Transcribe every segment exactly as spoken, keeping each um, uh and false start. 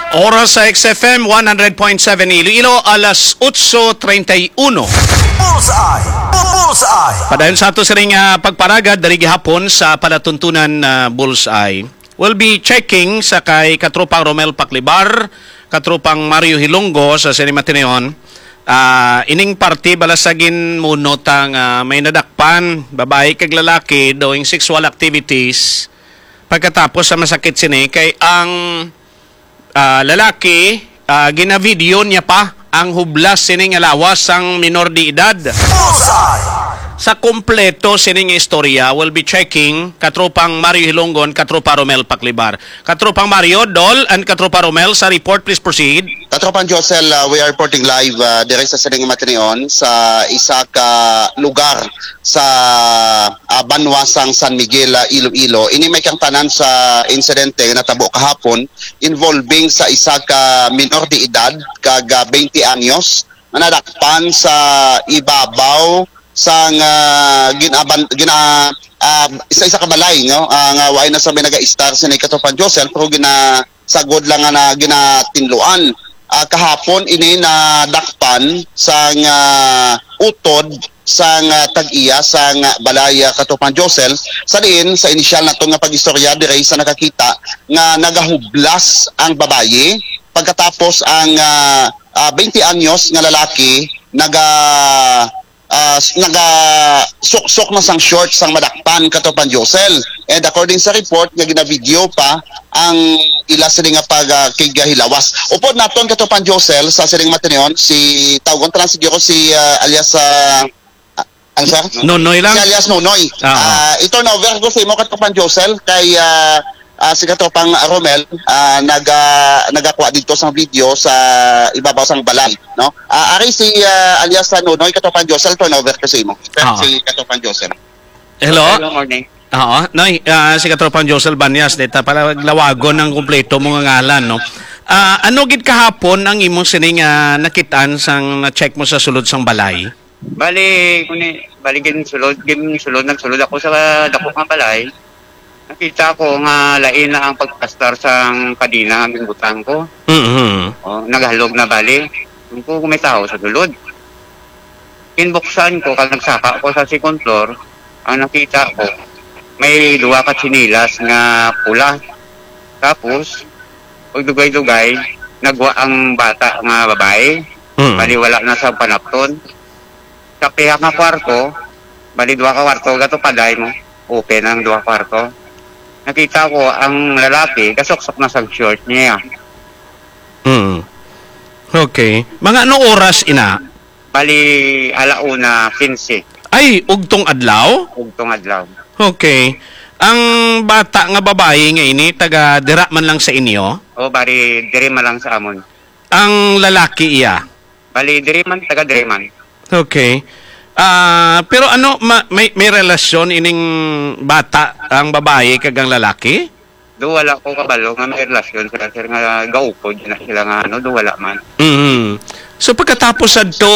Oras sa X F M one hundred point seven Iloilo, alas otso treinta y uno. Bullseye! Bullseye! Padayon sa ato sining, ah, pagparagad diri gihapon sa palatuntunan, ah, Bullseye. We'll be checking sa kay Katropang Romel Paclibar, Katropang Mario Hilonggo sa sining matinuon. Ah, ining parte bala sa ginmuno ta nga may nadakpan, babayi kag lalaki doing sexual activities. Pagkatapos sa masakit sini kay ang ah, lalaki, ah, ginavideo niya pa ang hublas sini nga lawas sang minor de edad. Bullseye! Sa kompleto sini nga istorya, we'll be checking Katropang Mario Hilonggon, Katropa Romel Paclibar. Katropang Mario, Dol, and Katropa Romel, sa report, please proceed. Katropang Josel, uh, we are reporting live, uh, diri sa sining matinuon sa isa ka lugar sa, uh, banwa sang San Miguel, uh, Iloilo. Ini may kangtanan sa insidente nga natabo kahapon involving sa isa ka minor de edad kag, ah, twenty anyos nga nadakpan sa ibabaw sang, ah, ginaban-, gina-, ah, isa, isa ka balay, no? Ah, nga waay na sa may naga-istar sini Katropang Josel, pero ginasagod lang nga na ginatinluan. Ah, kahapon ini nadakpan sang, ah, utod sang, ah, tag-iya sang, ah, balay, ah, Katropang Josel, sa diin sa inisyal naton nga pag-istorya diri sa nakakita nga nagahublas ang babayi pagkatapos ang, ah, ah, twenty anyos nga lalaki naga, ah, s-, naga suksok na sang short sang madakpan Katropang Josel. And according sa report nga ginavideo pa ang ila sini nga pag, ah, kighilawas. Upod naton Katropang Josel sa sining matinuon si tawgon ta lang siguro si, ah, alias, ah, ah, ano, sir? Nonoy lang. Si alias Nonoy. Ah, ah. Ah, i-turn over ko sa imo Katropang Josel kay, ah, ah, si Katropang Romel, ah, naga-, nagakuha didto sang video sa ibabaw sang balay, no? Ah, ari si, ah, alias sa Nonoy, Katropang Josel, turn over ko sa imo. Ah. Si Katropang Josel. Hello? Hello, morning. Oo, Noy, ah, si Katropang Josel Banyas, dita pala lawagon ang kompleto mo nga ngalan, no? Ah, ano gid kahapon ang imong sining, ah, nakitaan sang na-check mo sa sulod sang balay? Bali, kuni, bali, ginsulod, ginsulod, nagsulod ako sa dako nga balay. Nakita ko nga lain na ang pagplastar sang kadena nga ginbutang ko. Mhm. Oh, naghalog na bali. Kung ko may tao sa sulod. Kinbuksan ko, kag nagsaka ko sa second floor, ang nakita ko, may duha ka tsinelas nga pula. Tapos, pagdugay-dugay, nagwa ang bata nga babae. Mm. Bali, wala na sa panapton. Sa pihak nga kwarto, bali, duha ka kwarto, gato paday mo. Open ang duha ka kwarto. Nakita ko ang lalaki, gasuksok na sa short niya. Mm. Okay. Mga anong oras ina? Bali, ala una quince. Ay, ugtong adlaw? Ugtong adlaw. Okay. Ang bata nga babayi nga ini, taga dira man lang sa inyo? O, bali, diri man lang sa amon. Ang lalaki iya? Bali, diri man, taga diri man. Okay. Ah, pero ano, ma-, may, may relasyon ining bata, ang babayi, kag ang lalaki? Do, wala ko kabalo nga may relasyon sila, sir, nga gaukod na sila nga ano, do, wala man. Mhm. So, pagkatapos adto,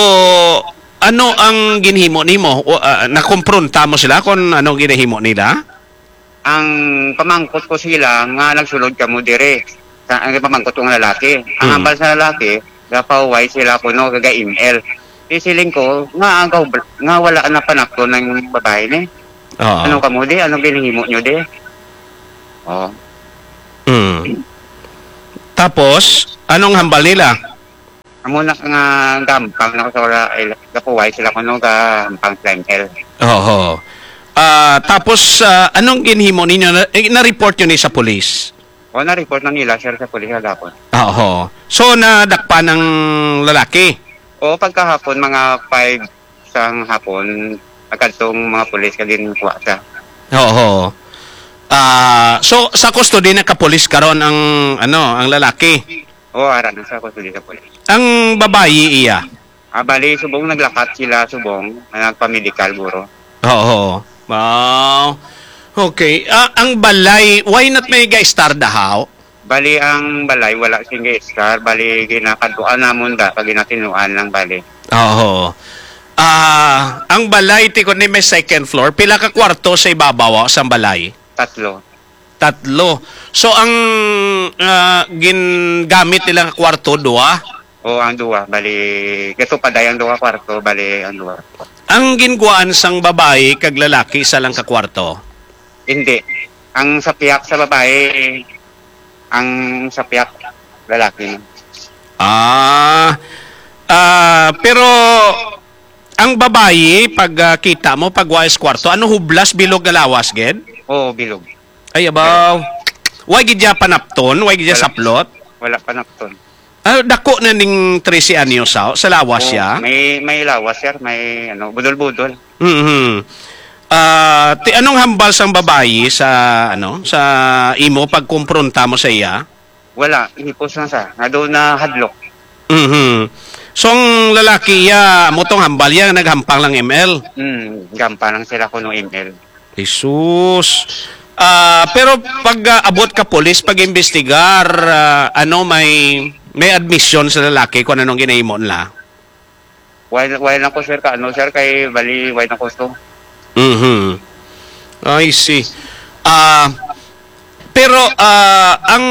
ano ang ginhimo nimo? O, ah, nakompronta mo sila kung ano ginahimo nila? Ang pamangkot ko sila nga nagsulod kamo dire. Sa, ang pamangkot ko nga lalaki. Ang Mm. hambal sa lalaki, gapahuway sila kuno, gaga-M L. Di siling ko, nga ang kahub-, nga wala na panakton ng babae ni. Oo. Ano kamo di? Ano ginhimo nyo di? Oh. Mm. Tapos, anong hambal nila? Amo na nga gampang na ko sa wala, eh, gapuway sila kuno gampang sa M L. Oo. Ah, tapos, ah, anong ginhimo ninyo? Na, eh, na-report nyo ni sa pulis? O, na-report na nila, sir, sa pulis kagapon. Oo. So, nadakpan ang lalaki? O, pagkahapon, mga five sang hapon, nagkadtong mga pulis kag ginkuha siya. Oo. Ah, so, sa custody na ka pulis karon ang, ano, ang lalaki? Oo, ara na sa custody sa pulis. Ang babayi iya? Ah, bali, subong naglakat sila, subong, nagpamedikal, guro. Oo. Wow. Okay. Ah, ang balay, why not may ga-star dahaw? Bali, ang balay, wala sing ga-star. Bali, ginakadtuan namon da, pag ginatinuan lang, bali. Oo. Ah, ang balay, tikon ni may second floor. Pila ka kwarto sa ibabaw, ah, sa balay? Tatlo. Tatlo. So, ang, ah, ah, gingamit nila nga kwarto, duha? O, ang duha, bali, gato pa day ang duha kwarto, bali, ang duha. Ang ginkuhaan sang babayi kag lalaki, isa lang ka kwarto? Hindi. Ang sa piyak sa babae, ang sa piyak lalaki. Ah, ah, pero ang babayi, pag, ah, kita mo, pag wa is kwarto, ano, hublas, bilog nga lawas, gid? Oo, bilog. Ay, abaw. Way gid siya panapton, way gid siya Wala. saplot. Wala panapton. Ah, dako na ning trese anyos, ah, sa lawas Oh, siya? may, may lawas, sir. May, ano, budol-budol. Mhm. Ah, ti-, anong hambal sang babayi sa, ano, sa imo pagkumpronta mo sa iya? Wala, hipos lang siya. Nga doon na hadlok. Mhm. So, ang lalaki iya, amo tong hambal iya, naghampang lang M L? Hmm, gampa lang sila kuno M L. Jesus. Ah, pero pag, ah, abot ka pulis, pag-imbestigar, ah, ano, may, may admission sa lalaki kung anong ginahimo nila? Why, why lang ko, sir, ka, ano, sir, kay bali, why na ko to? Mhm. I see. Ah, pero, ah, ang,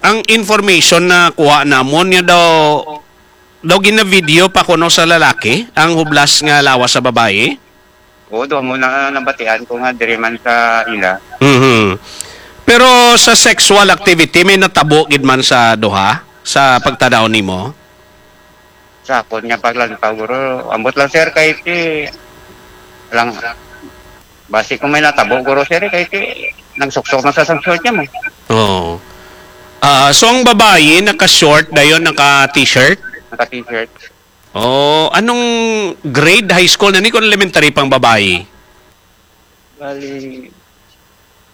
ang information na kuha namon niya daw, daw gina-video pa kuno sa lalaki ang hublas nga lawas sa babayi? Oo, doon mo na nabatian ko nga diri man sa ila. Mhm. Pero sa sexual activity, may natabo gid man sa duha sa pagtanaw nimo? Sa akon nga paglantaw, guro, ambot lang, sir, kay ti lang basi kung may natabo, guro, sir, kay ti nagsuksok na sa sang short niya mo. Oo. Ah, so ang babayi naka-short dayon, naka-t-shirt? Naka-t-shirt. Oh, anong grade high school na ni kung elementary pang babayi? Bali,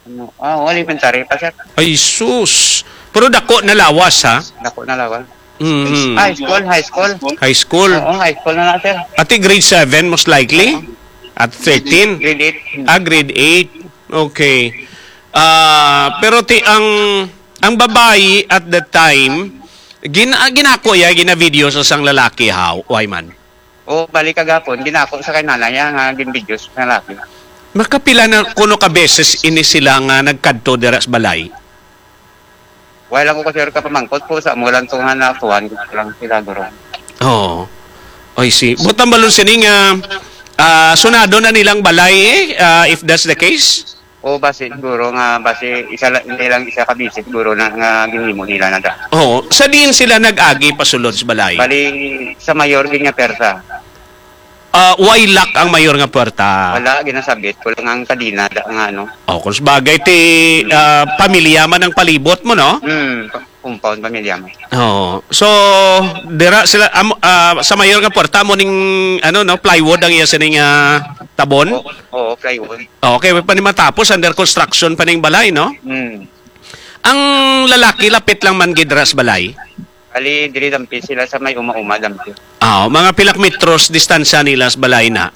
ano, ah, elementary pa, sir. Ay, sus. Pero dako na lawas, ha? Dako na lawas. Mm. High school, high school. High school. Oo, high school na na, sir. Ati grade seven, most likely? At thirteen? Grade eight. Ah, grade eight. Okay. Ah, pero ti ang, ang babayi at that time, gin-, ah, ginako ya, gina-video sa sang lalaki, ha? Why man? O, bali kagapon, ginako sa kay nanay, ah, nga ginbidyo sa lalaki. Makapila na kuno ka beses ini sila nga nagkadto dira sa balay? Wala ko kasi kapamangkot po sa amo lang to nga nakuhan ko lang sila, guro. Oo. I see. Buot ang balon sini nga, ah, sunado na nilang balay, eh, ah, if that's the case? O, basi, siguro nga, basi, isa la-, hindi lang isa ka visit, siguro na, nga ginhimo nila na da. Oo. Sa diin sila nag-agi pasulod sa balay? Bali, sa mayor gid nga persa. Ah, way lock ang mayor nga puwerta? Wala, ginasabit ko lang ang kadena da nga ano. Oh, kung sabagay, ti, ah, pamilya man ang palibot mo, no? Hmm, pa-, compound pamilya mo. Oo. So, dira sila, am-, ah, sa mayor nga puwerta mo ning, ano, no, plywood ang iya sining, ah, tabon? Oo, oo, plywood. Okay, pa ni matapos, under construction pa ning balay, no? Hmm. Ang lalaki, lapit lang man gid ra sa balay? Ali, diri dampi sila sa may uma-uma, dampi. Ah, mga pila ka metros distansya nila sa balay na?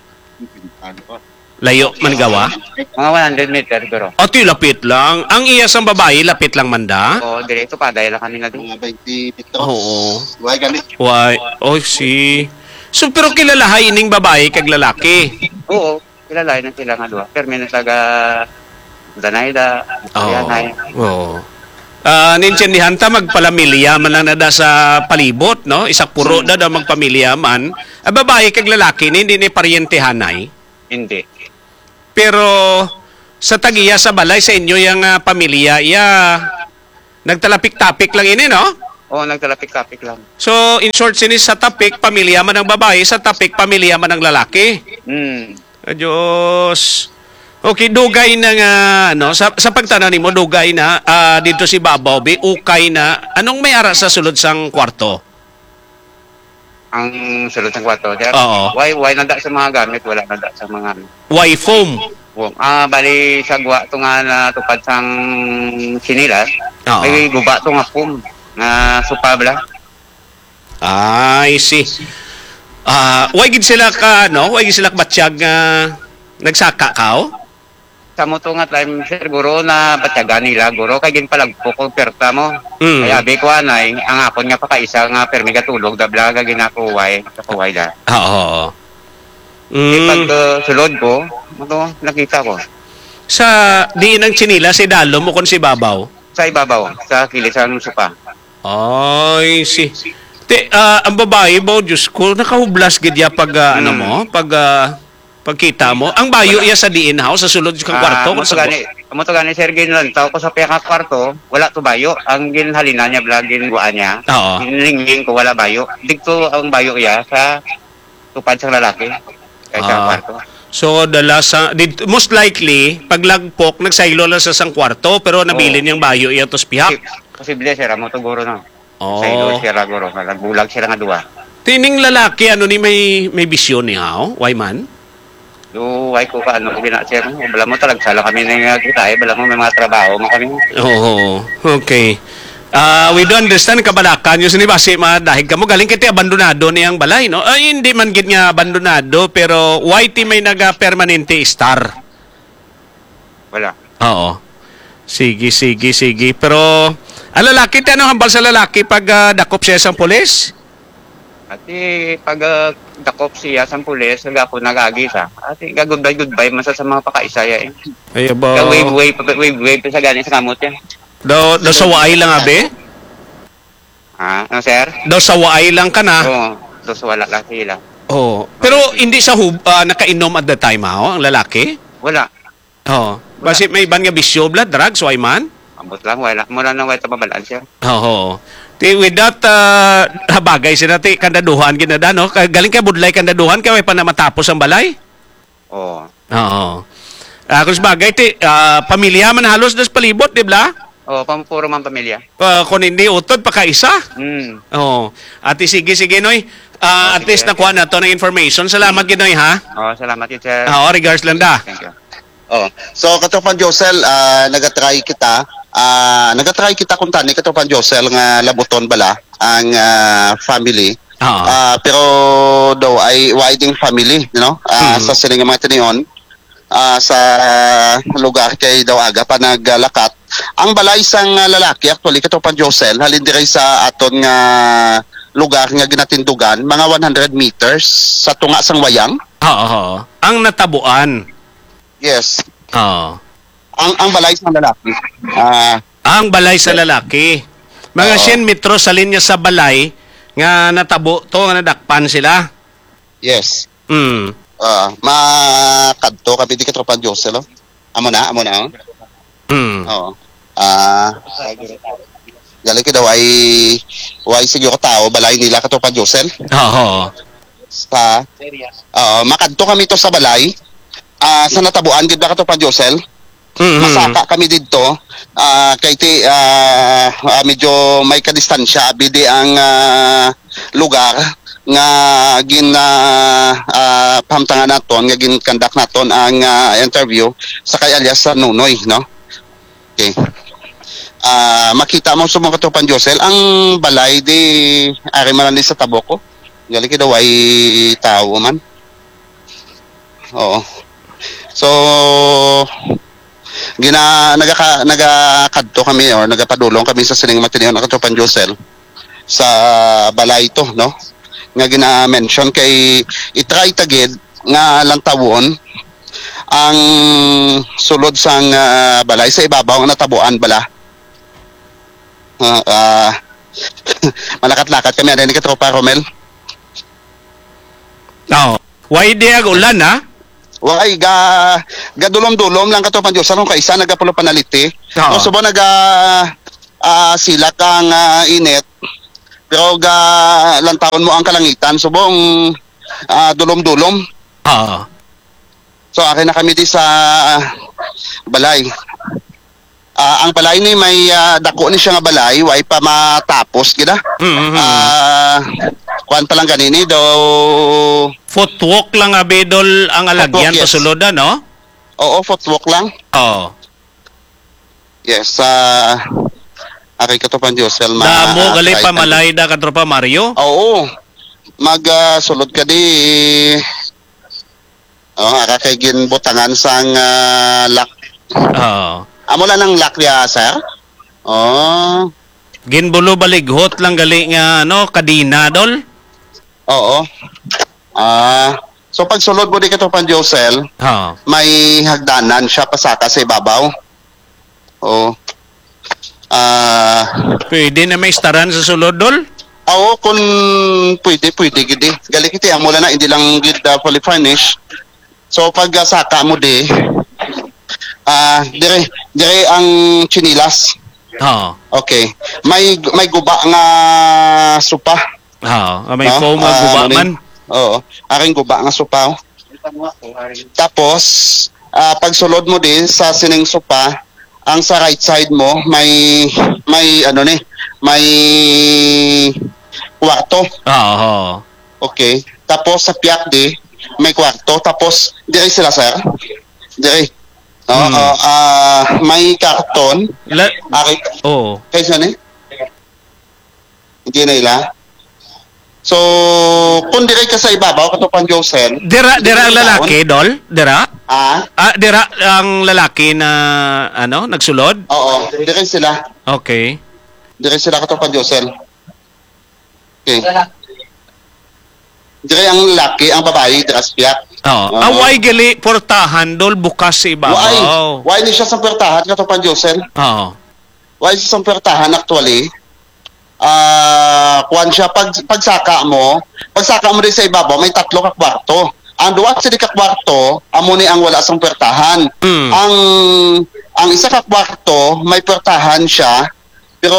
Layo man gawa? Mga one hundred meter, guro. Ati, lapit lang. Ang iya sang babayi, lapit lang man da? Oo, diri, tupaday lang kami na din. Mga twenty metros. Oo. Why gani? Why? Oh, see. So, pero kilalahay ining babayi kag lalaki? Oo, kilalahay na sila nga duha. Permi na taga Danay da, Oo. Alianay. Oo. Ah, nintindihan ta, magpalamilya man lang na da sa palibot, no? Isa puro Hmm. da da magpamilya man. Ah, babayi kag lalaki ni, hindi ni paryentehanay? Hindi. Pero sa tagiya sa balay sa inyo yang, ah, pamilya, iya, nagtalapik-tapik lang ini, no? Oo, nagtalapik-tapik lang. So, in short, sini sa tapik, pamilya man ang babayi, sa tapik, pamilya man ang lalaki. Hmm. Ah, Diyos. Okay, dugay na nga, no? Sa, sa pagtanaw nimo, dugay na, ah, dito si Babaw, bi, ukay na. Anong may ara sa sulod sang kwarto? Ang sulod sang kwarto, sir? Oo. Why, why nanda sa mga gamit, wala nanda sa mga ano. Why foam? Foam. Ah, bali, sa guwa to nga natupad sang sinilas, Oo. may guba to nga foam, nga supa bala. Ah, I see. Ah, why gid sila ka, no? Why gid sila kabatyag nga nagsaka ka, oh? Sa mo to nga time, sir, guro, na batyagan nila, guro, kay ginpalagpok ko perta mo. Mm. Kay abi ko, anay, ang akon nga pakaisa nga permi gatulog, dabla, ga ginakuway, kakuway da. Ah, oo. Di Mm. pag, uh, sulod ko, ano, nakita ko. Sa diin ang tsinelas, si Dalo mo kung si Babaw? Sa ibabaw, sa kilid sang sopa. Ay, si... Te, ah, ang babae ba, Diyos ko, nakahublas gid ya pag, ah, ano Mm. mo, pag, ah, pagkita mo. Ang bayo iya sa diin, haw, sa sulod sa Ah, kwarto, amo kung to sa gani, amo to gani, sir, ginlantaw ko sa pihak nga kwarto, wala to bayo. Ang ginhalina niya, bala, ginguan niya. Oo. Ginlingling ko, wala bayo. Digto ang bayo iya sa tupad sang lalaki. Kay sa Ah. kwarto. So, dala sa, did, most likely, paglagpok, nagsaylo lang sa sang kwarto, pero nabilin Oo. niyang bayo iya to sa pihak. Posi-, posible, sir, amo to guro, no? Oo. Saylo siya ra guro, nga nagbulag siya nga duwa. Tining lalaki, ano ni may, may bisyo ni, haw? Why man? Do, why ko ka, ano, ko gina, sir, no? Bala mo, talagsa lang kami na nga kita, eh. Bala mo, may mga trabaho mo kami. Oo. Okay. Ah, we do understand, kabalakan nyo, sini basi madahig ka mo. Galing kay ti abandonado ni ang balay, no? Ay, hindi man gid nga abandonado, pero why ti may naga-permanente star? Wala. Oo. Sige, sige, sige. Pero, ang lalaki, ti ano hambal sa lalaki pag ah, dakop siya sang pulis? Ati, pag ah, dakop siya sang pulis, nag-, ako nag-agi sa. Ati, ga-goodbye, goodbye, man sa, sa mga pakaisaya, eh. Ay, ba? Ga-wave, wave, wave, wave, sa gani sa kamot yan. Daw, daw sa waay lang, abi? Ha? Ano, sir? Daw sa waay lang ka na. Oo, dos wala lang sila. Oh. Pero hindi sa hub, ah, nakainom at the time, ha, oh, ang lalaki? Wala. Oh. Basi may iban nga bisyo, blood, drugs, why man? Ambot lang, wala. Mura na wala mabalaan, sir. Oo. Ti, with that, ah, habagay sila, ti, kandaduhan, ginada, no? Ka- Galing kay budlay kandaduhan, kay way pa na matapos ang balay? Oo. Oo. Ah, kung sabagay, ti, ah, pamilya man halos das palibot, di ba? Oo, pam-, puro man pamilya. Ah, kung hindi utod, pakaisa. Hmm. Oo. Ati, sige, sige, Noy. Ah, at Sige. Least nakuha na to ng information. Salamat, Ginoy, ha? Oo, salamat yun, sir. Ah, oh, regards lang da. Thank you. Oh, so Katropang Josel, ah, nagtry kita, ah, nagtry kita kung tani Katropang Josel nga labuton bala ang ah, family. Oo. Ah, pero daw ay why ding family, you know? Ah, Mhm. sa sini nga mga tinion, ah, sa lugar kay daw aga pa naglakat. Ang balay sang ah, lalaki actually Katropang Josel, halin diri sa aton nga lugar nga ginatindugan, mga one hundred meters sa tunga sang wayang. Oo, oo. Ang natabuan. Yes. Oo. Ang ang balay sang lalaki. Ah, Ang balay sa lalaki. Mga Oo. siyam metros sa linya sa balay nga natabo to, nga nadakpan sila. yes. Mm. Ah, makadto kami di Katropang Josel, oh. Amo na, amo na, oh. Mm. Oo. Ah, gali ka daw ay, way siguro tao, balay nila Katropang Josel. Oo. Sa, oo, makadto kami to sa balay. Ah, sa natabuan, gid ba Katropang Josel? Mm. Masaka kami didto. Ah, kay ti, ah, ah, medyo may kadistansya, abi di ang ah, lugar nga gin ah, ah, pahamtangan naton, nga gin-conduct naton ang ah, interview sa kay alias sa Nunoy, no? Okay. Ah, makita mo sa mga Katropang Josel ang balay di ari man ni sa tabok ko. Gali kay daw ay tao man. Oo. So, gina nagaka, nagakadto kami or nagapadulong kami sa sining matinion ang Katropang Josel sa balay to, no? Nga gina-mention kay i-try ta gid nga lantawon ang sulod sang ah, balay sa ibabaw nga natabuan bala. Ah, ah, malakat-lakat kami, ano ni Katropa Romel? Oo. Why di ag ulan, ha? Why ga gadulom-dulom lang Katropang Josel kung kaisa nagapulo panaliti. Oo. Kung subo naga ah, silak ang ah, init, pero ga lantawon mo ang kalangitan, subong ah, dulom-dulom. Oo. So, ari na kami di sa ah, balay. Ah, ang balay ni may ah, dako ni siya nga balay, way pa matapos gid ah. Mhm. Ah, kuan pa lang ganini daw. Footwalk lang, abidol, ang alagyan Footwalk, yes. Pasulod, no? Oo, footwalk lang. Oo. Yes, ah, ari Katropang Josel, ma- Damo ah, gali try pa ta- malay da, Katropa Mario. Oo. Mag ah, sulod ka di. Oh, ara kay ginbutangan sang ah, lock. Oo. Amo lang ang lock niya, sir? Oh. Ginbulo balighot lang gali nga, ano, kadina, dol. Oo. Ah, so pag sulod mo di Katropang Josel, Oo. may hagdanan siya pasaka sa ibabaw. Oh. Ah, Pwede na may istaran sa sulod, Dol? Oo, kung pwede, pwede gid eh. Gali kiti, amo lang na, hindi lang gid, ah, fully furnished. So, pag, ah, saka mo di, ah, dire, dire ang chinilas. Oo. Okay. May, may guba nga sopa. Oo, ah, may No? foam nga Ah, guba ano ni? man. Oo. Aring guba nga sopa, oh. Tapos, ah, pagsulod mo din sa sining sopa, ang sa right side mo, may, may, ano ni, may kwarto. Oo. Okay. Tapos sa piyak di, may kwarto. Tapos, dire sila, sir. Dire. Oo, Hmm. ah, may karton. La- Ari, Oo. Kay saan eh? Hindi na ila. So, kung dire ka sa ibabaw, Katropang Josel, Dira, dira ang lalaki, Dol? Dira? Ah? Ah, dira ang lalaki na, ano, nagsulod? Oo, dire sila. Okay. Dire sila, Katropang Josel. Okay. Dire ang lalaki, ang babae, dire sa piyak. Oo. Oo. Away gali portahan, Dol, bukas sa ibabaw. Why? Why ni siya sa portahan, Katropang Josel? Oo. Why sa isang puwertahan actually? Ah, kuwan siya, pag, pagsaka mo, pagsaka mo din sa ibabaw, may tatlo ka kwarto. Ang duwa sini ka kwarto, amo ni ang wala sang puwertahan. Mm. Ang, ang isa ka kwarto, may puwertahan siya, pero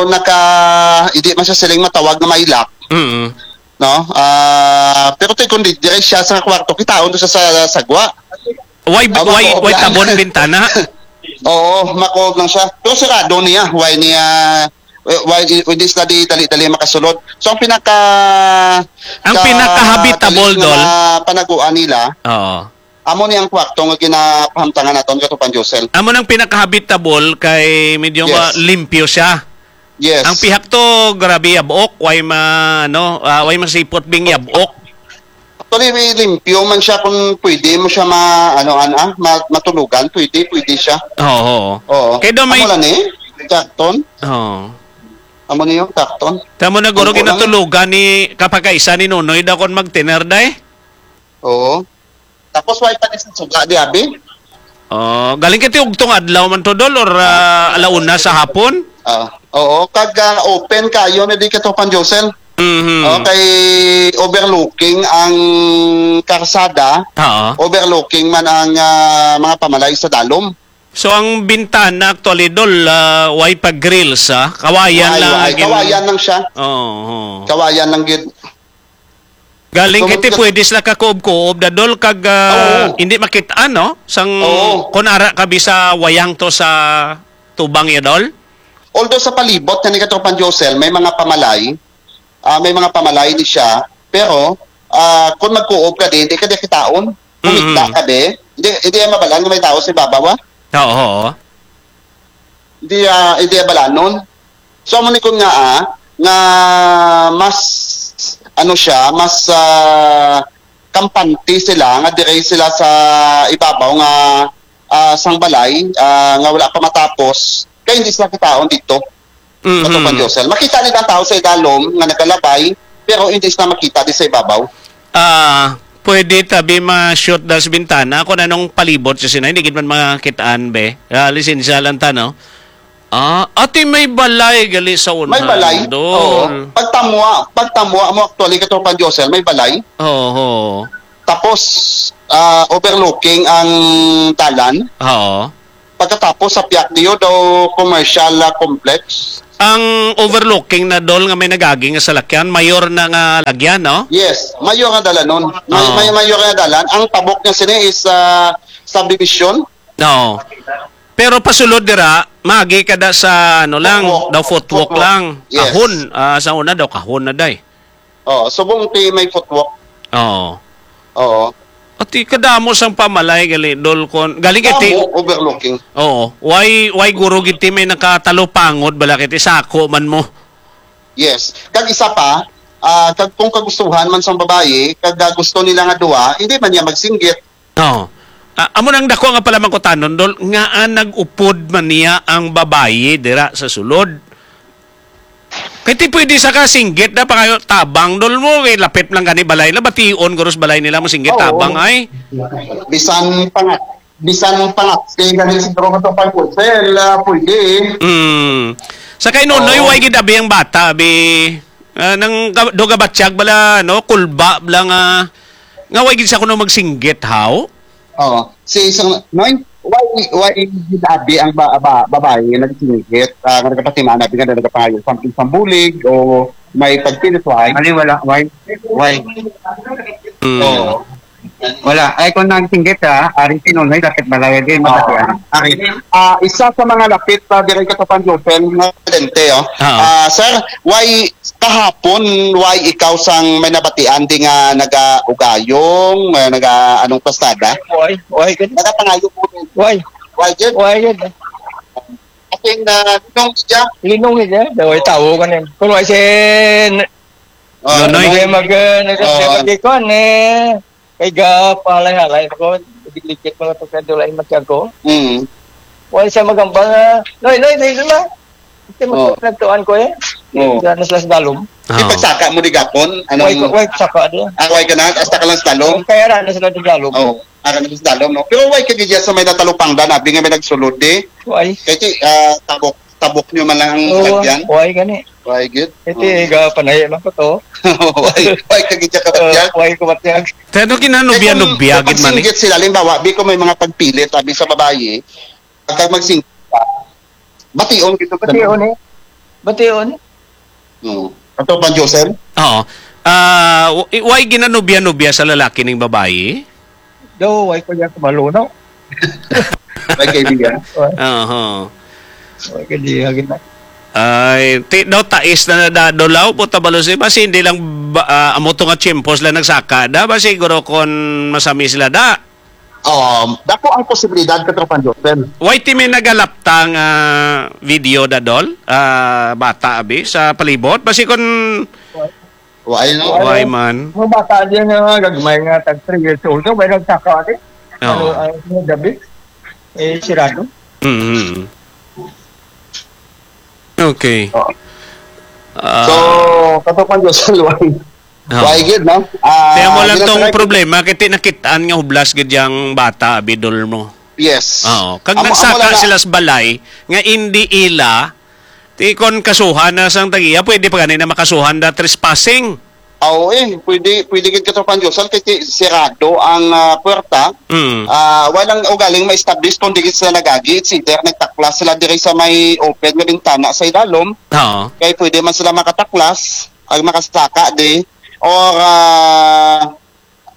naka, hindi man siya siling matawag na may lock. Mm. No? Ah, pero ti kundi dire siya sa kwarto, kitaon to sa, sa sagwa. Why, Aba, why, oo, why yan. tabon bintana? Oo, makuog lang siya. Pero sarado niya. Why niya, why, hindi sila di dali-dali makasulod. So, ang pinaka, Ang ka-, pinaka-habitable, kalis nga Dol? mga panaguan nila, Oo. amo ni ang kwarto nga ginapahamtangan naton, Katropang Josel. Amo nang pinaka-habitable kay medyo ma-, Yes. limpyo siya. Yes. Ang pihak to, grabe yabok. Why ma-, ano, ah, why masipot bing yabok? Actually, may limpyo man siya kung pwede mo siya ma-, ano, an-, ah, ma-, matulugan. Pwede, pwede siya. Oo, oo. Oo. Kay daw may Amo lang eh. Carton. Oo. Amo niyo, carton. Tamo na guro Tumpo lang eh. ginatulugan ni kapakaisa ni Nonoy daw kon mag-dinner day. Oo. Tapos why pa ni sa suga di abi? Oh, galing kay ti ugtong adlaw man to, Dol, or, ah, alauna sa hapon? Ah, oo, kag, ah, open kayo na di Katropang Josel. Mhm. Okay, overlooking ang karsada, Oo. overlooking man ang, ah, mga pamalay sa dalom. So, ang bintana actually, Dol, ah, way pa grills, ah. Kawayan Way, lang way. ang gin- Kawayan lang siya. Oo, oo. Kawayan lang gid. Galing So, kay ti mat-, pwede sila kakuob-kuob, da, Dol, kag, ah, Oo. hindi makit-an, no? Sang Oo. kun ara ka bisa wayang to sa tubang ya, Dol? Although sa palibot na ni Katropang Josel, may mga pamalay, ah, may mga pamalay ni siya, pero, ah, kung magkuob ka din, di ka di kitaon. Kumita Mm. ka din, di, di mabalan nga may tao sa ibabaw, ah. Oo, oo. Hindi, ah, hindi balanon. So, amo ni kun nga, ah, nga mas, ano siya, mas, ah, kampante sila, nga dire sila sa ibabaw nga, ah, sang balay, ah, nga wala pa matapos, kay hindi sila kitaon dito. Mhm. Katropang Josel. Makita nila ang tao sa idalom nga nagalabay, pero hindi sila makita di sa ibabaw. Ah, pwede tabi ma-shoot dahil sa bintana kung anong palibot sa sinay, hindi gid man makitaan, be. Ah, lisensya lang ta, no? Ah, ati may balay gali sa unahan, May balay? Dol. Oo. Pagtamwa, pagtamwa mo actually, Katropang Josel, may balay. Oo. Tapos, ah, overlooking ang dalan. Oo. Pagkatapos sa Piakdio daw commercial, ah, complex. Ang overlooking na, Dol, nga may nagagi nga salakyan, mayor na nga lagyan, no? Yes, mayor nga dalanon. May, Oo. may mayor nga dalan. Ang tabok niya sini is, ah, subdivision. No. Pero pasulod dira, magi ka da sa ano lang, Footwalk. daw footwalk Footwalk. lang. Yes. Kahon, ah, sa una daw kahon na day. Oh, subong ti may footwalk. Oo. Oo. Ati kadamo sang pamalay gali, Dol, kon galing kay ti Kamo overlooking. Oo. Why, why guro gid ti may nakatalupangod bala kay ti sako man mo? Yes. Kag isa pa, ah, kag kung kagustuhan man sang babayi, kag, ah, gusto nila nga duha, hindi man niya magsinggit. Oo. Ah, amo nang dako nga pala mangkutanon, Dol, ngaa nag-upod man niya ang babayi dira sa sulod? Kay ti pwede sa kasinggit na pangayo tabang, Dol, mo, kay lapit lang gani balay na, bation guro sa balay nila mo singgit Oo. tabang, ay. Bisan pa nga. bisan pangapsi gani siguro, Katropang Josel, ah, pwede. Mm. Sa kay Nonoy, Oo. Way gid abi ang bata, abi. Ah, nang ga-, do gabatyag bala, no? Kulba bala nga, nga way gid siya kuno magsinggit, haw? Oo. Si isang, Noy, why, why gid abi ang ba-, ba-, babae nga nagsinggit, ah, nga nagapatiman, abi nga nagapangayo, something pambulig o may pagpilit, why? Ano, wala, why? Why? Mm. Oo. Wala. Ay, kung nagsinggit, ha, ari si Nonoy, dapat malayo din, Oo. mabatian. Ari. Ah, isa sa mga lapit pa diri, Katropang Josel, nga presidente, oh. Oo. Ah, sir, why kahapon, why ikaw sang may nabatian di nga naga-ugayong, nga naga-, anong pasada? Why? Why gid? Nagapangayo po. Why? Why gid? Why gid? As in, ah, linong siya. Linong siya. Daw ay tawo ka niya. Kung why si Oh, Nonoy. Ay, mag, ah, nag-, Oo. nag-, kuwan, eh. Kay ga, palay-halay ako. Diklikit mga pagkadulay, matyago. Mm. Wala siya magambal nga, "Noy, Noy, dito na." Kasi Oo. magpagtuan ko eh. Oo. Diyan na sila sa dalom. Di Oo. pagsaka mo di gapon? Anong Way ko, way, saka di. Ah, way ka na? Hasta ka lang sa dalom? Kaya ra na sila sa dalom. Oo. Ara na sa dalom, no? Pero way ka gid sa may natalupangdan, abi nga may nagsulod di. Way. Kay ti, ah, tabok, tabok nyo man lang ang Oo, salagyan. Way gani. Way gid. Iti Oo. ga panay man ko to. Way, way ka gid sa Oh, kabatyag. Way ko batyag. Kaya no, Eh, kung kinanubiya-nubiya gid man eh. pagsinggit sila, halimbawa, bi ko may mga pagpilit, abi sa babayi, pagka magsing-, bation gid to, Bation eh. Bation. Oo. Ato pa, Josel? Oo. Ah, w-, i-, why ginanubya-nubya sa lalaki ning babayi? Daw, why ko niya kumalo, no? May kaibigan? Why? Oho. Why ka di, hagin na? Ay, ti-, daw tais na nadadulaw po tabalo si, basi hindi lang ba, ah, amo to nga tiyempo sila nagsaka da, ba siguro kon masami sila da. Um, dako ang posibilidad, Katropang Josel. Why ti may nagalapta nga video, Dadol? Ah, bata, abi, sa palibot? Basi kun Why, no? Why man? Mga bata diyan nga gagmay nga tag three years old, may nagsaka, ate. Oo. Ano, ano, ano, gabi? Eh, sirado. Mm-hmm. Okay. Oo. Ah. So, Katropang Josel, why? Oo. Why gid, no? Ah, Kaya mo lang tong ginatry ko problema, kay ti nakit-an nga hublas gid yang bata, bidol mo. Yes. Oo. Kag Amo, amo nagsaka lang na sila sa balay, nga indi ila, ti kon kasuhan na sang tagiya, pwede pa gani na makasuhan da trespassing. Oo, eh. Pwede, pwede gid, Katropang Josel, kay ti-, sirado ang, ah, puwerta. Mm. Ah, walang ugaling ma-establish kung di gid sila nagagi. It's either nagtaklas sila diri sa may open nga bintana sa idalom. Oo. Kay pwede man sila makataklas, ag makasaka di. Or, ah,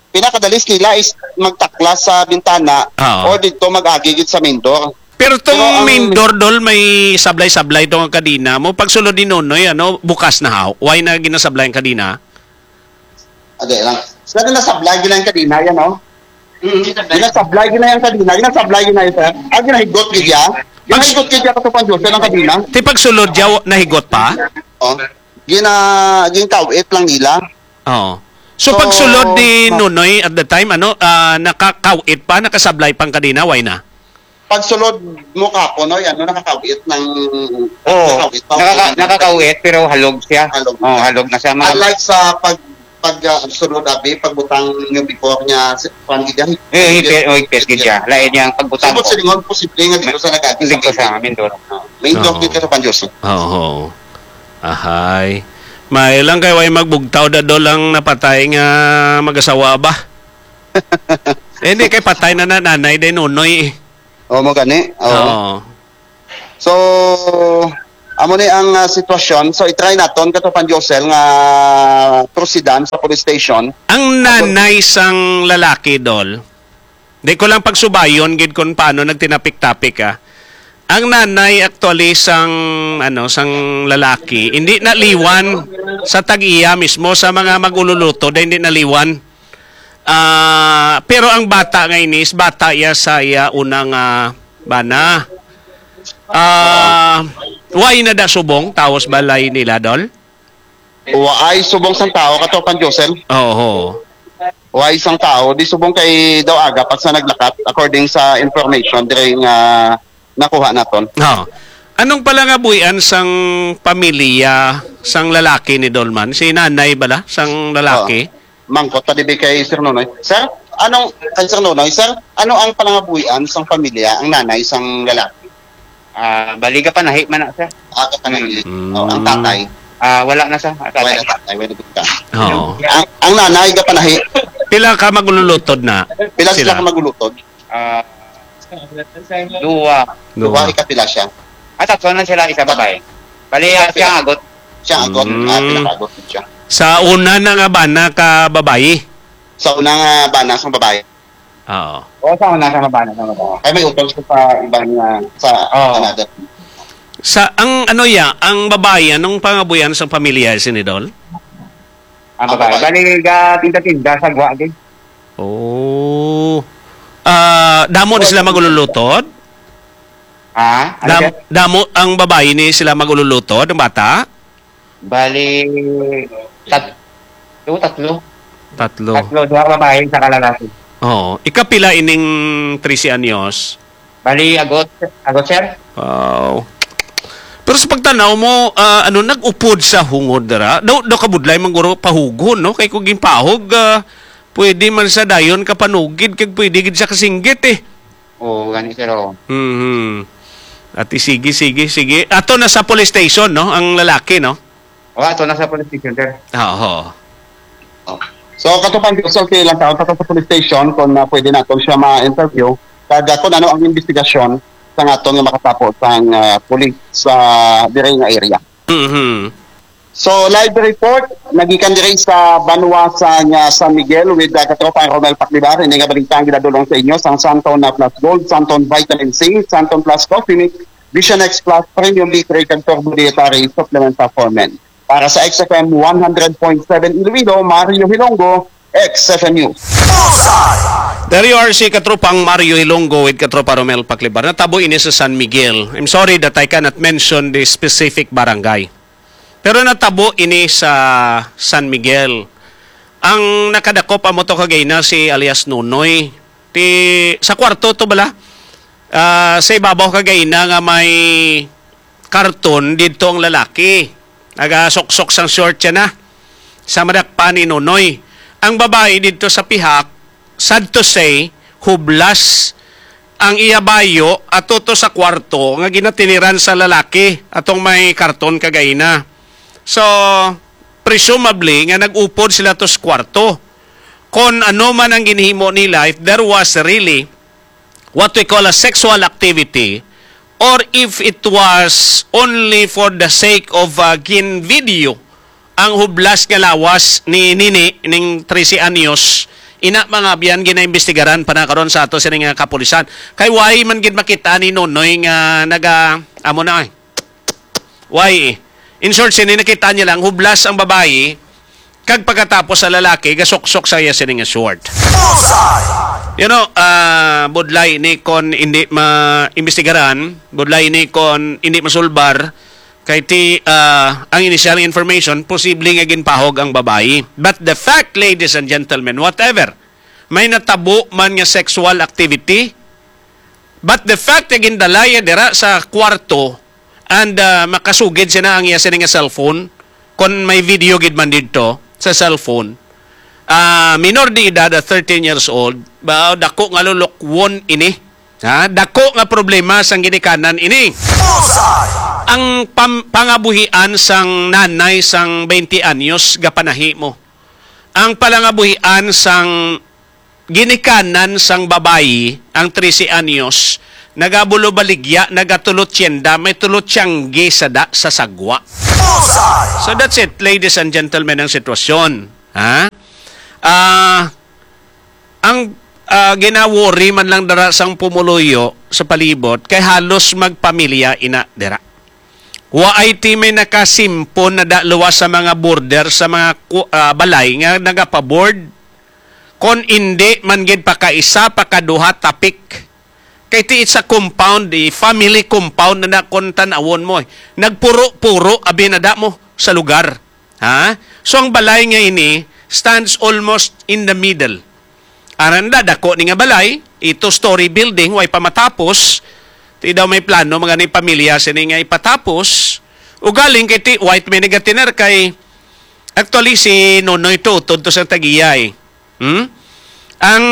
pinakadalis nila is magtaklas sa bintana Oo. or didto mag-agi gid sa main door. Pero tong Pero ang main door, Dol, may sablay-sablay tong kadena mo. Pagsulod ni Nonoy, ano, bukas na haw. Why na ginasablay ang kadena? Ade lang. Sila ginasablay gid ang kadena yan, oh. Mm, ginasablay. Ginasablay gid na yung kadena. Ginasablay gid na yung, sir. Ah, ginahigot gid ya. Ginahigot gid ya, Katropang Josel, ang kadena. Ti pagsulod ya, nahigot pa? Oh. Gina-, ginkawit lang nila. Oo. So, So, pagsulod ni ma- Nonoy at the time, ano, ah, nakakawit pa, nakasablay pang kadena, why na? Pagsulod mo kapon, no, yan, no, nakakawit ng, Oo. nakakawit pa. Nakaka-, nakakawit, pero halog siya. Halog. Oo, halog na siya. Mga Unlike sa pag-, pag, ah, sulod, abi, pagbutang yung before niya, si-, kuwan gid yan. Eh, higpit, oh, higpit gid siya. Lain niyang pagbutang Subot ko. Silingon, posible nga dito sa nagagi Dito sa Mindoro. Main door Oo. dito sa Panjoso. Oo. Ahay. May lang kay way magbugtaw, Dadol, ang napatay nga mag-asawa ba? Eh, hindi kay patay na na nanay din, Nonoy, eh. Oo, mo gani. Oo. Oo. So, amo ni ang, ah, sitwasyon. So, i-try naton, Katropang Josel, nga proceedan sa police station. Ang Ato- nanay sang lalaki, Dol, di ko lang pagsubayon gid kung paano nagtinapik-tapik, ah. Ang nanay actually sang, ano, sang lalaki, hindi naliwan sa tag-iya mismo, sa mga mag-ululuto, dahil hindi naliwan. Ah, pero ang bata nga ini is bata iya sa iya unang, ah, bana. Ah, why na da subong tawo sa balay nila, Dol? Waay subong sang tawo, Katropang Josel. Oho. Waay sang tawo, di subong kay daw aga pa sa naglakat, according sa information diri nga nakuha naton. Oo. Anong pala nga buhian sang pamilya sang lalaki ni Dolman? Si nanay bala sang lalaki? Oo. Mangkot ta dibi kay Sir Nonoy. Sir, Anong, kay Sir Nonoy, sir, ano ang panangabuhian sang pamilya, ang nanay sang lalaki? Ah, bali, gapanahi man na, sir. Ah, gapanahi. Mm. Oh, ang tatay? Ah, wala na, sir. Ang tatay. Wala na tatay, wala na ka. Oo. Ang, ang nanay, gapanahi. Pila ka magululutod na Pila sila sila? ka magulutod? Ah, duwa. Duha, Duha. Ikapila siya? Ah, tatlo na sila, isa babae. Bali, ah, siya ang agot. Siya ang agot. Mm. Ah, pinakagot siya. Sa una na nga bana ka babayi? Sa una nga bana sang babae. Oo. O, sa una sa bana, sa bana. Ay, may utol siya sa ibang, ah, sa Oo. another. Sa, ang ano ya, ang babayi, anong pangabuyan sang pamilya, Senador? Ang Ang babae. babae. Bali, ga tinda-tinda sa gwa, di. Oh. Ah, damo ni sila magululutod? Ha? Ano Dam-, siya? damo ang babae ni sila magululutod, ang bata? Bali, tat-, tatlo. Tatlo. Tatlo, duha babae, isa ka lalaki. Oo. Ikapila ining trese anyos? Bali, agot, agot, sir. Wow. Pero sa pagtanaw mo, ah, ano, nag-upod sa hungod dira? Daw, daw kabudlay man guro pahugon, no? Kay kung ginpahog, ah, pwede man sa dayon kapanugid, kag pwede gid sa kasinggit, eh. Oo, gani, sir, oo. Mhm. Ati, sige, sige, sige. Ato na sa police station, no? Ang lalaki, no? O, ato na sa police station, sir. Ah, oo. So, katupang gusto ko lang taon, ato sa police station, kung, ah, pwede naton siya ma-interview, kag, ah, kung ano ang investigasyon sa aton nga makatapo sang, ah, police sa diri nga area. Mhm. So, live report, nagikan diri sa banwa sa, nga San Miguel with, ah, Katropang Romel Paclibar. Ini nga balita ang ginadulong sa inyo sang Santon na Plus Gold, Santon Vitamin C, Santon Plus Coffee Mix, Vision X Plus, Premium D three, kag Turbo Dietary Supplement sa For Men. Para sa X F M one hundred point seven Iloilo, Mario Hilongo, X F M News. There you are, si Katropang Mario Hilongo with Katropa Romel Paclibar. Natabo ini sa San Miguel. I'm sorry that I cannot mention the specific barangay. Pero natabo ini sa San Miguel. Ang nakadakop amo to kagina si alias Nonoy. Ti, sa kwarto to bala. Ah, sa ibabaw kagina nga may karton didto ang lalaki. Nagasuksok sang short siya na. Sa madakpan ni Nonoy. Ang babayi didto sa pihak, sad to say, hublas ang iya bayo ato to sa kwarto nga ginatiniran sa lalaki atong may karton kagina. So, presumably nga nag-upod sila to sa kwarto. Kon ano man ang ginhimo nila, if there was really what we call a sexual activity, or if it was only for the sake of, uh, gin-video ang hublas nga lawas ni Nini ning trese anyos, ina, mga abyan, ginaimbestigaran pa na karon sa ato sini nga kapulisan. Kay why man gid makita ni Nonoy nga naga, amo na, eh. Why, eh? In short, sini nakita niya lang, hublas ang babayi, kag pagkatapos sa lalaki, gasuksok sa iya sini nga short. You know, ah, budlay ni kon hindi ma-imbestigaran, budlay ni kon hindi masulbar, kay ti, ah, ang initial information, posible nga ginpahog ang babayi. But the fact, ladies and gentlemen, whatever, may natabo man nga sexual activity, but the fact nga gindala iya dira sa kwarto and, ah, makasugid siya na ang iya sini nga cellphone, kon may video gid man didto sa cellphone, ah, minor de edad, ah, thirteen years old, ba, dako nga lulukwon ini. Ha? Dako nga problema sang ginikanan ini. Ang pam-, pangabuhian sang nanay sang twenty anyos gapanahi mo. Ang palangabuhian sang ginikanan sang babayi, ang trese anyos, nagabulo baligya, nagatulot tienda, may tulot tiyanggi sa da-, sa sagwa. So that's it, ladies and gentlemen, ang sitwasyon. Ha? Ah, ang, ah, ginaworry man lang dara sang pumuluyo sa palibot kay halos magpamilya ina dira. Wa ay ti may nakasimpon na da luwas sa mga border sa mga ku-, ah, balay nga nagapaboard. Kon indi man gid pakaisa, pakaduha, tapik. Kay ti sa compound, di family compound na na kon tan-awon mo, eh. Nagpuro-puro abi na da mo sa lugar. Ha? So ang balay nga ini stands almost in the middle. Aran da, dako ni nga balay, ito story building, way pa matapos. Ti daw may plano mga ni pamilya sini nga ipatapos. Ugaling kay ti white may nagatinar kay actually si Nonoy to, tudto sa tag-iya, eh. Hmm? Ang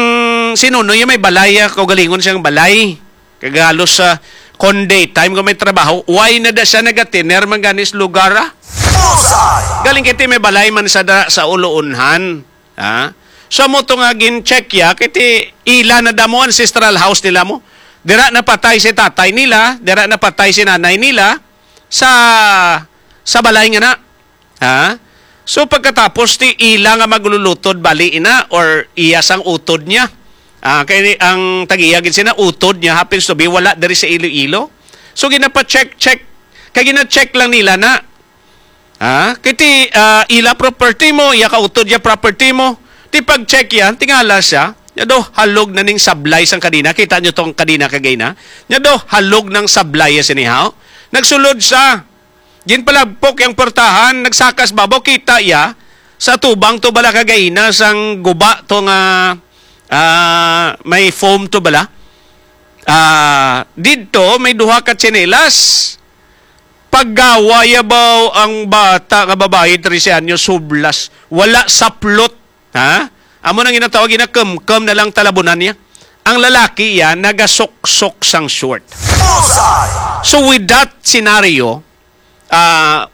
si Nonoy may balay, ah, kaugalingon siyang balay. Kag halos sa kon daytime ko may trabaho, why na da siya nagatiner man gani sa lugar, ah? Bullseye! Galing kiti may balay man sa da, sa Uluunhan. Ha? So, mo to nga gin-check ya, kiti ila na damo ancestral house nila mo. Dira napatay si tatay nila, dira napatay si nanay nila sa, sa balay nga na. Ha? So, pagkatapos ti ila nga maglulutod bali ina or iya sang utod niya. Ah, kay ang tagiya gid sina utod niya happens to be wala diri sa Iloilo. So, ginapa-check, check. Kay gina-check lang nila na, ha? Kay ti, ah, ila property mo, iya ka utod ya property mo. Ti pag-check yan, tingala siya. Nya do, halog na ning sablay sang kadina. Kita nyo tong kadina kagay na. Nya do, halog ng sablay ya sinihaw. Nagsulod sa Ginpalagpok yang portahan, nagsakas babaw, kita iya sa tubang to bala kagaina sang guba to nga, ah, may foam to bala. Ah, didto may duha ka tsinelas. Paggawa yabaw ang bata nga babayi, trese anyos, hublas. Wala saplot, ha? Amo nang ginatawag, ginakumkum na lang talabunan niya. Ang lalaki iya nagasuksok sang short. Bullseye! So with that scenario, ah,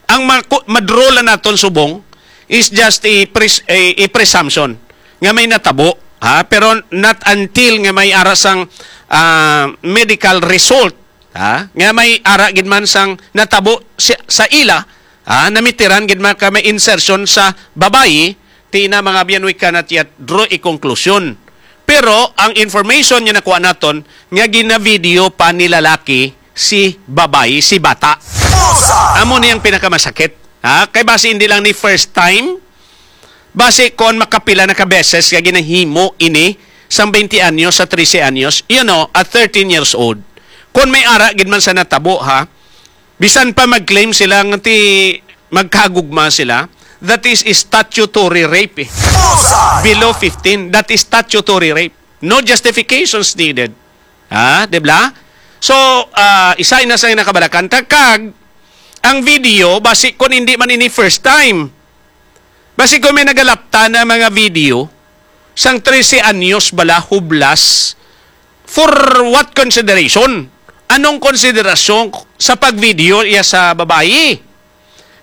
ang maku-, madraw lang naton subong is just a pres-, a, a presumption nga may natabo, ha? Pero not until nga may ara sang, ah, medical result, ha? Nga may ara gid man sang natabo si, sa ila, ha? Namitiran gid man ka may insertion sa babayi, ti na, mga abyan, we cannot yet draw a conclusion. Pero ang information nga nakuha naton, nga gina-video pa ni lalaki si babayi, si bata. Bullseye! Amo ni ang pinakamasakit. Ha? Kay basi hindi lang ni first time, basi kon makapila na ka beses nga ginahimo ini sang twenty anyos sa trese anyos, you know, at thirteen years old. Kon may ara gid man sa natabo, ha, bisan pa mag-claim sila nga ti magkagugma sila, that is statutory rape, eh. Bullseye! Below fifteen, that is statutory rape. No justifications needed. Ha? Di ba? So, ah, isa na sa nakabalakanta. Kag, ang video, basi kung hindi man ini first time, basi kung may nagalapta na mga video, sang trese anyos bala, hublas, for what consideration? Anong konsiderasyon sa pag-video iya sa babayi?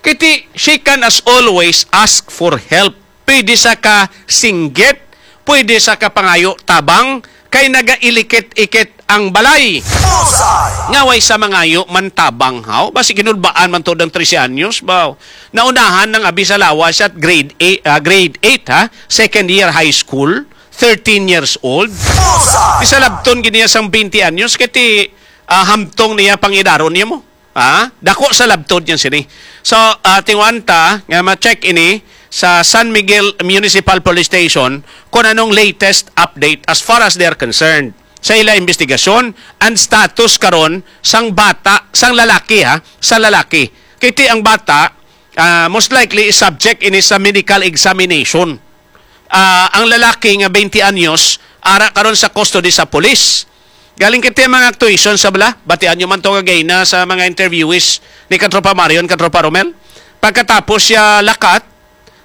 Kiti, she can as always ask for help. Pwede sa ka singgit, pwede sa ka pangayo tabang, kay nagailikit-ikit ang balay. Bullseye! Nga way sa mangayo man tabang, haw? Basi ginulbaan man to ng trese anyos, ba? Naunahan ng abi sa lawas at grade eight, ah, grade eight, ha? Second year high school, thirteen years old. Bullseye! Isa labton gid niya sang twenty anyos, kay ti, ah, hamtong niya pangidaron niya mo. Ha? Dako sa labtod yan sini. So, ah, tinguan ta nga ma-check ini sa San Miguel Municipal Police Station kung anong latest update as far as they are concerned sa ila investigasyon and status karon sang bata, sang lalaki, ha, sa lalaki. Kiti ang bata, ah, most likely is subject ini sa medical examination. Ah, ang lalaki nga twenty anyos, ara karon sa custody sa pulis. Galing kiti ang mga actuation sa bala, batian nyo man to kagay na sa mga interviewees ni Katropa Marion, Katropa Romel. Pagkatapos siya lakat,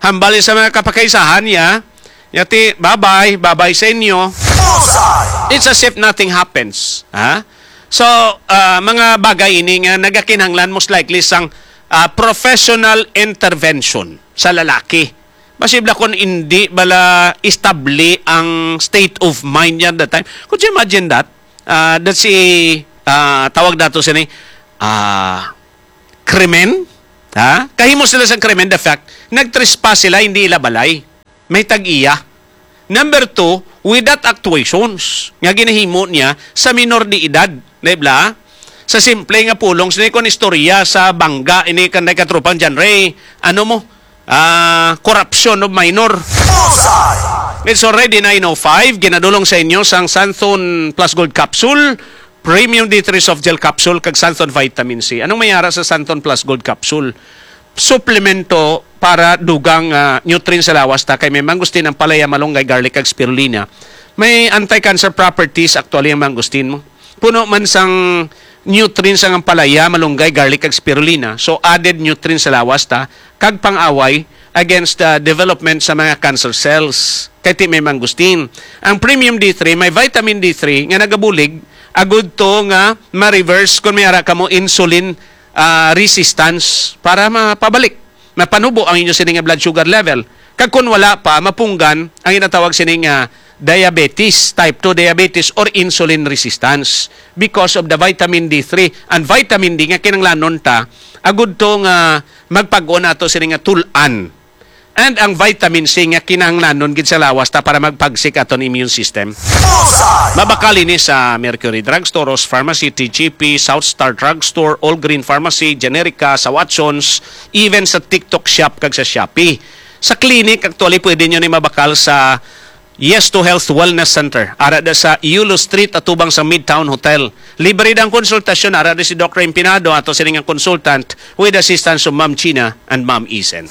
hambal sa mga kapakaisahan niya, niya ti, "Bye-bye, bye-bye sa inyo." Bullseye! It's as if nothing happens. Ha? So, ah, mga bagay ini nga nagakinahanglan most likely sang, ah, professional intervention sa lalaki. Masibla kon indi bala establi ang state of mind niya that time. Could you imagine that? Ah, that's a, ah, tawag nato sini, ah, krimen. Ha? Kahimo sila sa krimen, the fact, nagtrespass sila, hindi ila balay. May tag-iya. Number two, without actuations nga ginahimo niya sa minor de edad. Di ba? Sa simple nga pulong, sini kon istorya sa bangga, ini kanday katropang John Ray, ano mo? Ah, corruption of minor. Bullseye! It's already nine oh five. Ginadulong sa inyo sang Santhon Plus Gold Capsule, Premium D three Soft Gel Capsule, kag Santhon Vitamin C. Anong may ara sa Santhon Plus Gold Capsule? Suplemento para dugang, ah, nutrients sa lawas ta, kay may mangustin, ampalaya, malunggay, garlic, kag spirulina. May anti-cancer properties actually ang mangustin mo. Puno man sang nutrients ang ampalaya, malunggay, garlic, kag spirulina. So, added nutrients sa lawas ta, kag pang-away against the development sa mga cancer cells. Kay ti may mangustin. Ang premium D three, may vitamin D three nga nagabulig agud to nga ma-reverse kung may ara kamo insulin, ah, resistance para mapabalik, mapanubo ang inyo sini nga blood sugar level. Kag kung wala pa, mapunggan ang ginatawag sini nga diabetes, type two diabetes or insulin resistance because of the vitamin D three and vitamin D nga kinahanglanon ta agud to nga magpag-on ato sini nga tul-an. And ang vitamin C nga kinahanglanon gid sa lawas ta para magpagsik aton immune system. Mabakal ini sa Mercury Drugstore, Rose Pharmacy, T G P, South Star Drugstore, All Green Pharmacy, Generica, sa Watsons, even sa TikTok Shop kag sa Shopee. Sa clinic, actually, pwede nyo ni mabakal sa Yes to Health Wellness Center, ara da sa Yulo Street, atubang sa Midtown Hotel. Libre ang konsultasyon, ara da si Doctor Empinado, ato sini nga consultant, with assistance of Ma'am Gina and Ma'am Isen.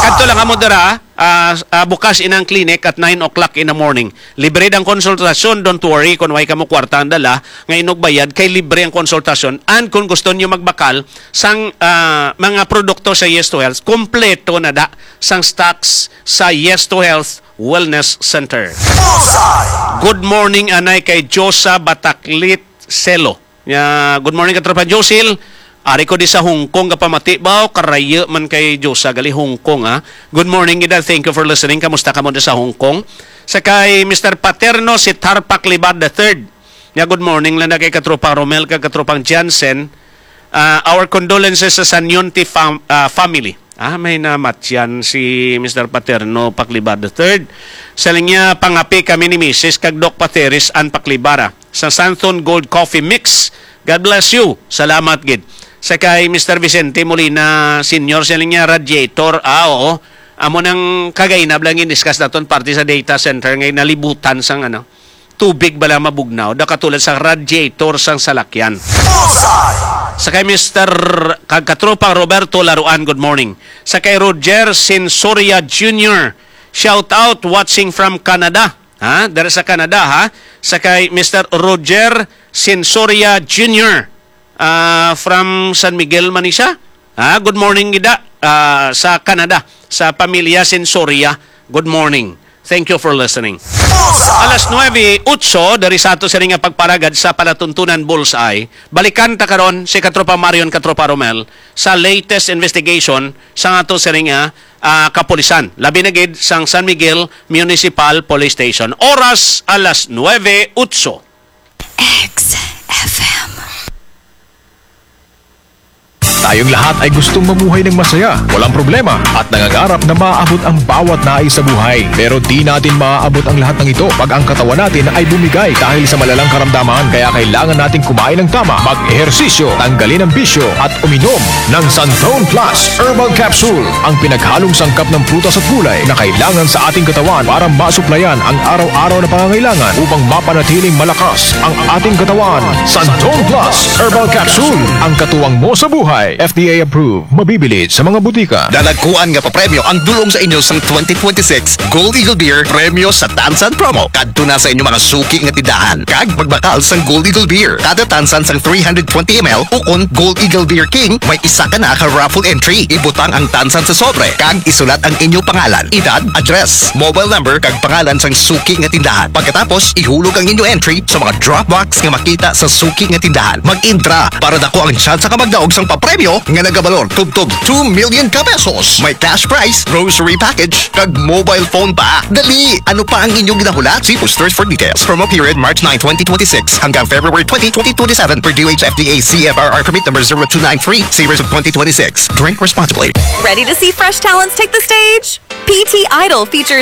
Kadto lang kamo dira, ah, ah, bukas inang clinic at nine o'clock in the morning. Libre ang konsultasyon, don't worry kung way kamo kwarta ang dala, nga inugbayad, kay libre ang konsultasyon. And kung gusto niyo magbakal sang, ah, mga produkto sa Yes to Health, kompleto na da sang stocks sa Yes to Health Wellness Center. Good morning, anay kay Josa Bataklit Selo. Ya, good morning, Katropa Josil. Ari ko di sa Hong Kong, kapamati ba? O karayo man kay Josa, gali Hong Kong, ha? Good morning, Ida. Thank you for listening. Kamusta ka mo di sa Hong Kong? Sa kay Mister Paterno, si Tarpak Libar the third. Ya, good morning lang na kay Katropa Romel, kag Katropang Jansen. Ah, our condolences sa Sanyonti fam-, ah, family. Ah, may namatyan si Mister Paterno Paclibar the third. Sa linya, pangapi kami ni Misis kag Doc Pateris and Paclibara sa Santhon Gold Coffee Mix. God bless you. Salamat gid. Sa kay Mister Vicente Molina Senior, sa linya, radiator. Ah, oo. Amo nang kagainab lang in-discuss naton parte sa data center nga nalibutan sang ano, tubig bala mabugnaw, da katulad sa radiator sang salakyan. Sa kay Mister kag Katropang Roberto Laruan, good morning. Sa kay Roger Sensoria Junior, shout out, watching from Canada. Ha? Dara sa Canada, ha? Sa kay Mister Roger Sensoria Junior, ah, from San Miguel, Manisa. Ah, good morning, gida, ah, sa Canada, sa pamilya Sensoria. Good morning. Thank you for listening. Alas nuebe otso, dari sa ato sini nga pagparagad sa palatuntunan Bullseye. Balikan ta karon si Katropa Marion, Katropa Romel, sa latest investigation sa ato sini nga, ah, kapulisan. Labi na gid sang San Miguel Municipal Police Station. Oras, alas nuebe otso. X F M. Tayong lahat ay gustong mamuhay ng masaya, walang problema, at nangangarap na maabot ang bawat nais sa buhay. Pero di natin maaabot ang lahat ng ito pag ang katawan natin ay bumigay dahil sa malalang karamdaman. Kaya kailangan nating kumain ng tama, mag-ehersisyo, tanggalin ang bisyo, at uminom ng Santon Plus Herbal Capsule, ang pinaghalong sangkap ng prutas at gulay na kailangan sa ating katawan para masuplayan ang araw-araw na pangangailangan upang mapanatiling malakas ang ating katawan. Santon Plus Herbal Capsule, ang katuwang mo sa buhay. F D A approved. Mabibili sa mga butika. Dalagkuan nga papremyo ang dulong sa inyo sang twenty twenty-six Gold Eagle Beer Premyo sa Tansan Promo. Kadto na sa inyo mga suki nga tindahan kag magbakal sang Gold Eagle Beer. Kada tansan sang three hundred twenty M L ukon Gold Eagle Beer King, may isa ka na ka raffle entry. Ibutang ang tansan sa sobre kag isulat ang inyo pangalan, edad, address, mobile number kag pangalan sang suki nga tindahan. Pagkatapos, ihulog ang inyo entry sa mga drop box nga makita sa suki nga tindahan. Mag-intra para dako ang tsansa ka magdaog sang papremyo nga nagabalor tubtob two million ka pesos. May cash prize, grocery package, kag mobile phone pa. Dali! Ano pa ang inyong ginahulat? See posters for details. Promo period March nine, twenty twenty-six hanggang February twenty, twenty twenty-seven per D O H F D A C F R R permit number zero two nine three, series of twenty twenty-six. Drink responsibly. Ready to see fresh talents take the stage? P T Idol features